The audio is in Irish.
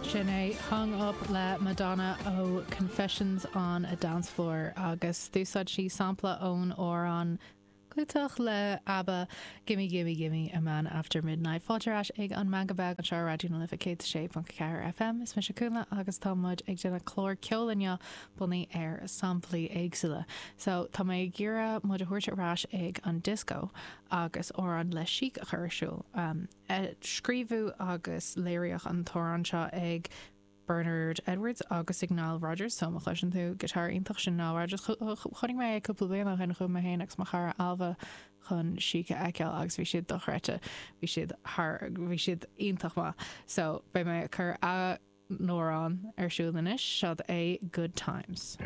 Sin é Hung Up le Madonna ó Confessions on a Dance Floor agus d'úsáid sí sampla ón amhrán clúiteach le ABBA, Gimme Gimme Gimme a Man After Midnight. Fáilte ar ais ag an Meangadh Beag anseo ar Raidió na Life 106.4 FM. Is mise Cúnla agus tá muid ag déanamh clár ceoil inniu bunaithe ar samplaí éagsúla. So, tá mé ag iarraidh muid a thabhairt ar ais ag an disco agus amhrán le Chic a chur ar siúl. Scríobhadh agus léiríodh an t-amhrán seo ag Bernard Edwards agus ag Nile Rodgers, so má chloiseann tú guitar iontach, sin Nile Rodgers. Chonaic mé é cúpla bliain ó shin, chuaigh mé féin agus mo chara Ailbhe chun Chic a fheiceáil agus bhí siad dochreidte, bhí siad thar, bhí siad iontach maith. So, beidh mé ag cur a n-amhrán ar siúl anois, seod é Good Times.